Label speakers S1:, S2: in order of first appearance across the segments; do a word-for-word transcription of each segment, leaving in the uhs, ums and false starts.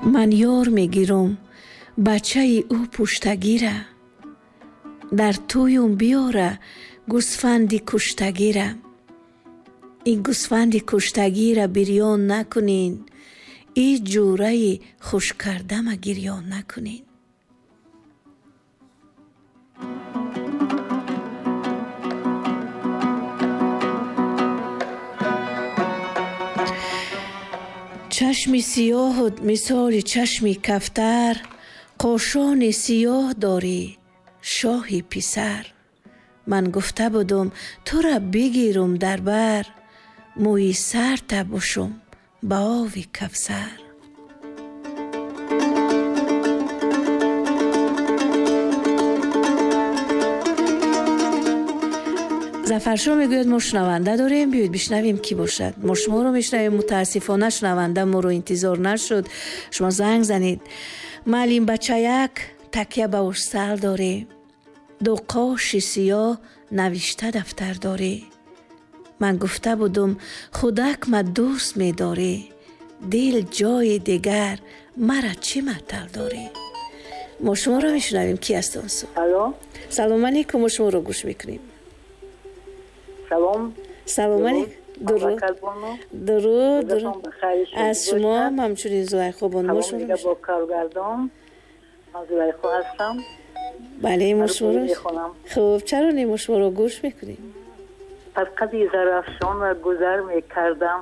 S1: Ман ёр мегирам бачаи ӯ пуштагира, дар тӯюм биёра гӯсфанди куштагира. Ин гӯсфанди куштагира бирён накунин, и ҷӯраи хушкардама гирён накунин. Чашми сиёҳут мисоли чашми кафтар, қошони сиёҳ дорӣ шоҳи писар. Ман гуфта будум тура бигирум дар бар, мӯи сарта бушум ба ови кавсар. Зафаршо мегӯяд мо шунаванда дорем, биёед бишнавем кӣ бошад. Мо шуморо мешунавем, мутаассифона шунаванда моро интизор нашуд. Шумо занг занед. Маълим бачаяк такя ба усал дорӣ, ду қоши сиёҳ навишта дафтар дорӣ. Ман гуфта будум худак ма дӯст медорӣ, дил ҷои дигар мара чӣ маътал дорӣ? Мо шуморо мешунавем, кӣ аст он су?
S2: Алло.
S1: Салом алейкум, мо шуморо гӯш мекунем.
S2: Салом.
S1: Салом алейкум. Дуруд. Дуруд. Аз шумо ҳам ҳамчунин Зулайхо бону. Мо шуморо
S2: мешунавем. Бо коргардон ман Зулайхо ҳастам.
S1: Бале, мо шуморо хуб, чаро не, мо шуморо гӯш мекунем.
S2: Аз қади Зарафшонро гузар мекардам,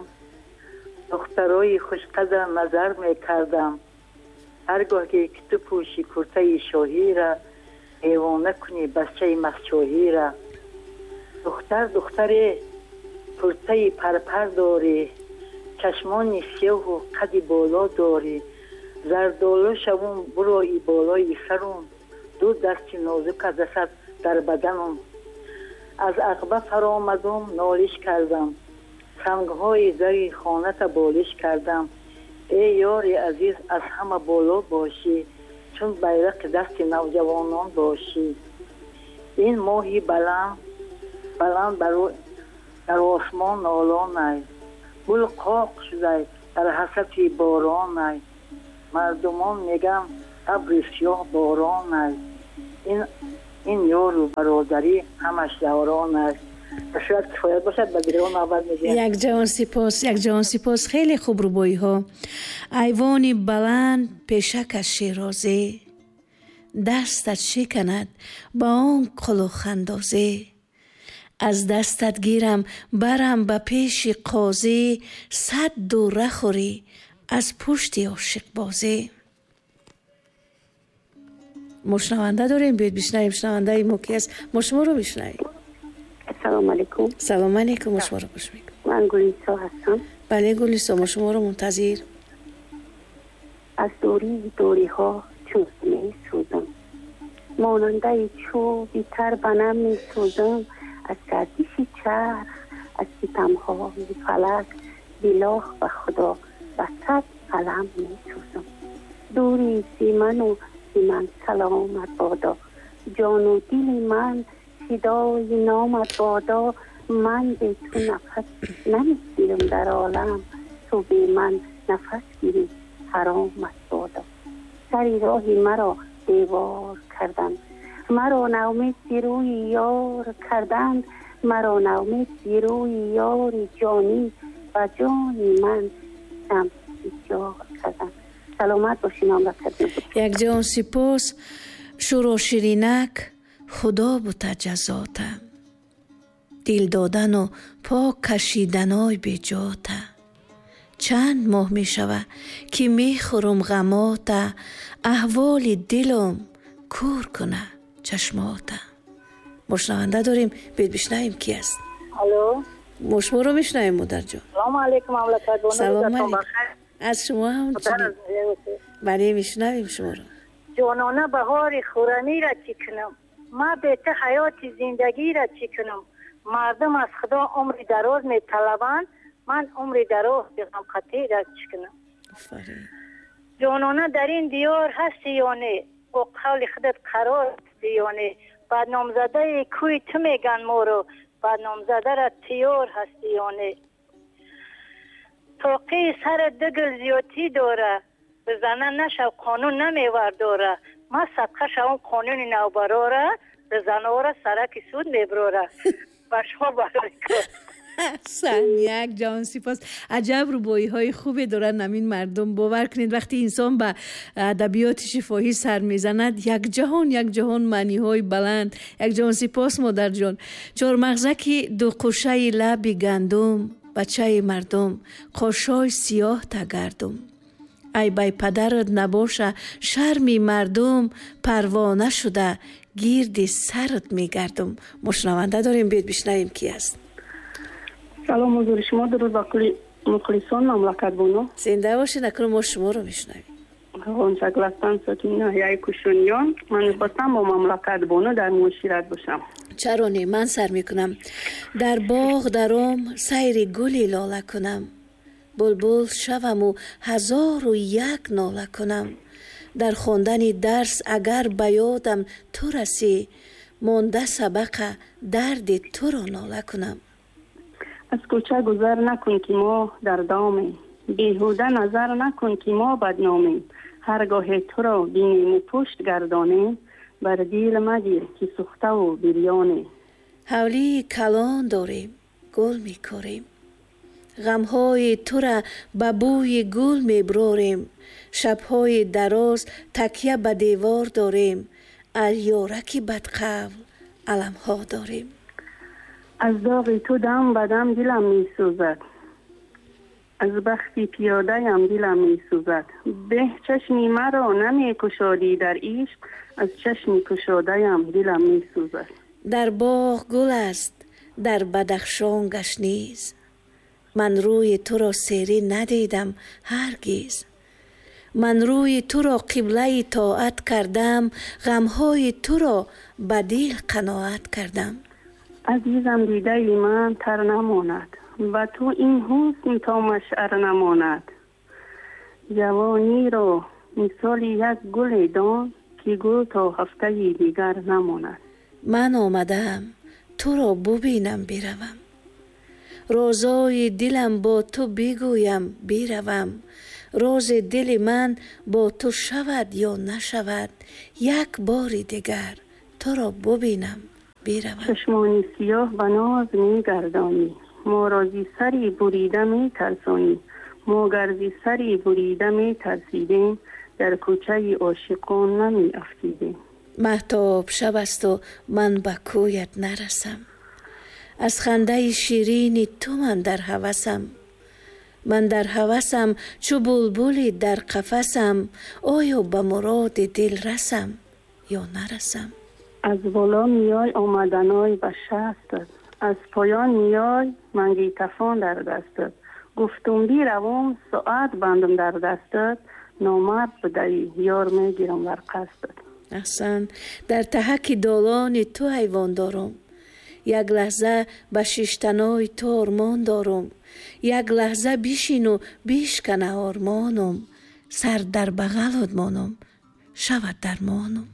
S2: духтарои хушқадра назар мекардам. Ҳаргоҳ ки ту пӯши куртаи шоҳира, девона кунӣ бачаи мастшоҳира. Духтар духтаре куртаи парпар дорӣ, чашмони сиёҳу қади боло дорӣ. Зардолу шавум бурои болои сарум, ду дасти нозука дасад дар баданум. Аз ақба фаромадум нолиш кардам, сангҳои дари хоната болиш кардам. Эй ёри азиз, аз ҳама боло бошӣ, чун байрақи дасти навҷавонон бошӣ. Ин моҳи баланд баланд дар осмон нолонай, гул қоқ шудай дар ҳасрати боронай. Мардумон мегӯянд абри сиёҳ боронай. Ин ин ёру бародарӣ ҳамаш даврон аст. Шояд кифоят бошад, ба дигарон навбат медиҳем.
S1: Як ҷаҳон сипос, як ҷаҳон сипос. Хеле хуб рубоиҳо. Айвони баланд пешакаш шерозӣ, дастат шиканад ба он қулухандозӣ. Аз дастат гирам барам ба пеши қозӣ, сад дура хӯрӣ аз пушти ошиқбозӣ. Мо шунаванда дорем, биёед бишнавем шунавандаи мо ки аст. Мо шуморо мешунавем.
S3: Салом алейкум.
S1: Салом алейкум, мо шуморо гӯш мекунем.
S3: Ман Гулисо ҳастам.
S1: Бале Гулисо, мо шуморо мунтазир.
S3: Аз дурии дуриҳо чун месӯзам, монандаи чӯби тар ба нам месӯзам. Аз гардиши чарх, аз ситамҳои фалак, билоҳ ба Худо ба сад қалам месӯзам. Дури зи ману зи ман саломат бодо, ҷону дили ман фидои номат бодо. Ман бе ту нафас намегирам дар олам, ту бе ман нафас гирӣ ҳаромат бодо. Сари роҳи маро девор карданд, маро наумед зи рӯи ёр карданд. Маро наумед зи рӯи ёри ҷонӣ, ба ҷони ман ситам бисёр карданд. Саломат бошӣ, мамлакат.
S1: Як ҷаҳон сипос. Шӯро ширинак худо бута ҷазота, дил додану пок кашиданой беҷота. Чанд моҳ мешава ки мехӯрам ғамота, аҳволи дилам кӯр куна чашмота. Мо шунаванда дорем, биёед бишнавем ки аст.
S2: Алло.
S1: Мо шуморо мешунавем модарҷон.
S2: Салом алейкум мамлакат.
S1: Салом алейкум. Аз шумо ҳам чунин. Бале, мешунавем шуморо.
S2: Ҷонона баҳори хӯрамиро чӣ кунам? Ман бе ту ҳаёти зиндагиро чӣ кунам? Мардум аз Худо умри дароз металабанд, ман умри дароз ғамқатиро чӣ кунам?
S1: Офарин.
S2: Ҷонона дар ин диёр ҳастӣ ё не? Бо қавли худат қарор ҳастӣ ё не? Бадномзадаи кӯи ту меган моро, бадномзадаро тиёр ҳастӣ ё не? Тоқии сарат ду гул зиёдтӣ дора, Зана нашав қонун намевардора. Ма садқа шавам қонуни навбарора, занора сараки суд меброра. Ба шумо барои кор.
S1: Аҳсан, як ҷаҳон сипос. Аҷаб рубоиҳои хубе доранд ҳамин мардум. Бовар кунед, вақте инсон ба адабиёти шифоҳӣ сар мезанад, як ҷаҳон, як ҷаҳон маъниҳои баланд. Як ҷаҳон сипос, модарҷон. Чормағзаки дуқушаи лаби гандум, бачаи мардум, қошҳои сиёҳ тагардум. Ай бай падарат набоша шарми мардум, парвона шуда гирди сарат мегардум. Мо шунаванда дорем, биёед бишнавем ки аст.
S3: Салом ҳузури шумо, дуруд ба кулли мухлисон мамлакат бону.
S1: Зинда бошед, акнун мо шуморо мешунавем.
S3: Ғунчагул ҳастам, сокини ноҳияи Кушуниён. Ман мехостам бо мамлакат бону дар муошират бошам.
S1: Чаро не, ман сар мекунам. Дар боғ даром сайри гули лола кунам, булбул шаваму ҳазору як нола кунам. Дар хондани дарс агар ба ёдам ту расӣ, монда сабақа дарди туро нола кунам.
S3: Аз кӯча гузар накун ки мо дар домем, беҳуда назар накун ки мо бадномем. Ҳаргоҳе туро бинему пушт гардонем, бар дил магир ки сӯхтаву бирёнем.
S1: Ҳавлии калон дорем, гул мекорем, ғамҳои тура ба бӯи гул меброрем. Шабҳои дароз такя ба девор дорем, аз ёраки бадқавл аламҳо дорем.
S3: Аз доғи ту дам ба дам дилам месӯзад, аз бахти пиёдаям дилам месӯзад. Беҳ чашми маро намекушодӣ дар ишқ, аз чашми кушодаям дилам месӯзад.
S1: Дар боғ гул аст, дар Бадахшон гашниз, ман рӯи туро серӣ надидам ҳаргиз. Ман рӯи туро қиблаи тоат кардам, ғамҳои туро ба дил қаноат кардам.
S3: Азизам, дидаи ман тар намонад, ба ту ин ҳусн то машъар намонад. Ҷавониро мисоли як гуле дон, ки гул то ҳафтаи дигар намонад.
S1: Ман омадаам туро бубинам биравам, розои дилам бо ту бигӯям биравам. Рози дили ман бо ту шавад ё нашавад, як бори дигар туро бубинам биравам.
S3: Чашмони сиёҳ ба ноз мегардонӣ, моро зи сари бурида метарсонӣ. Мо гар зи сари бурида метарсидем, дар кӯчаи ошиқон намеафтидем.
S1: Маҳтоб шаб асту ман ба кӯят нарасам, аз хандаи ширини ту ман дар ҳавасам. Ман дар ҳавасам чу булбули дар қафасам, оё ба муроди дил расам ё нарасам.
S3: Аз боло меёй омаданой ба шастат, аз поён меёй мангитафон дар дастат. Гуфтум биравум соат бандам дар дастат, номард будаӣ ёр мегирам бар қасдат.
S1: Аҳсан, дар таҳаки долони ту ҳайвон дорум, як лаҳза ба шиштанои ту ормон дорум. Як лаҳза бишину бишкана ормонум, сар дар бағалот монум, шавад дармонум.